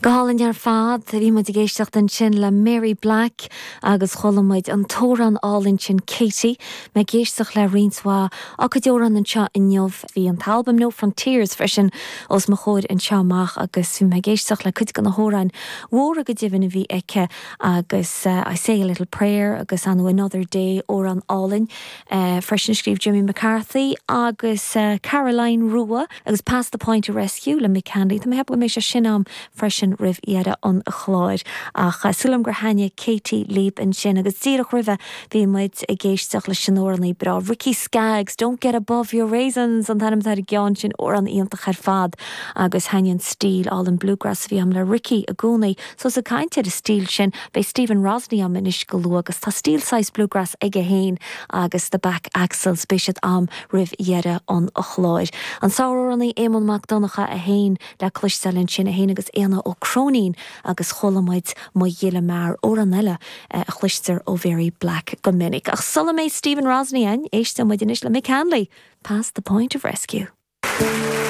Go hálainn ar fad. Bhí muid ag éisteacht ansin le Mary Black agus chuala muid an t-amhrán álainn sin Katie. Mé ag éisteacht le roinnt mhaith dá cuid amhrán anseo inniu. Bhí an t-albam No Frontiers freisin os mo chomhair anseo amach agus bhí mé ag éisteacht le cuid de na hamhráin mhóra go deimhin a bhí aici agus I Say a Little Prayer agus ar ndóigh Another Day, amhrán álainn freisin a scríobh Jimmy McCarthy agus Caroline Rua. Agus Past the Point of Rescue le Mick Hanley. Tá mé ag ceapadh go mbeidh sé sin a'm freisin roimh dheireadh an chláir. Ach súil agam gur thaitnigh Katie libh ansin. Agus díreach roimhe bhí muid ag éisteacht leis an amhránaí breá Ricky Skaggs, Don't Get Above Your Raisins an t-ainm atá ar an gceann sin, amhrán iontach ar fad. Agus thaitnigh an stíl álainn bluegrass a bhí a'm le Ricky i gcónaí. So is ag caint ar an stíl sin, beidh Stephen Rosney a'm anois go luath agus tá stíl saghas bluegrass aige féin agus The Back Axles, beidh siad a'm roimh dheireadh an chláir. An sáramhránaí Éamonn Mac Donncha é féin le cloisteáil ansin, é féin agus Éanna Ó Cróinín agus chuala muid Mo Ghile Mear, amhrán eile a chloistear ó Mhary Black go minic. Ach sula mbeidh Stephen Rosney againn, éisteoidh muid anois le Mick Hanley, Past the Point of Rescue.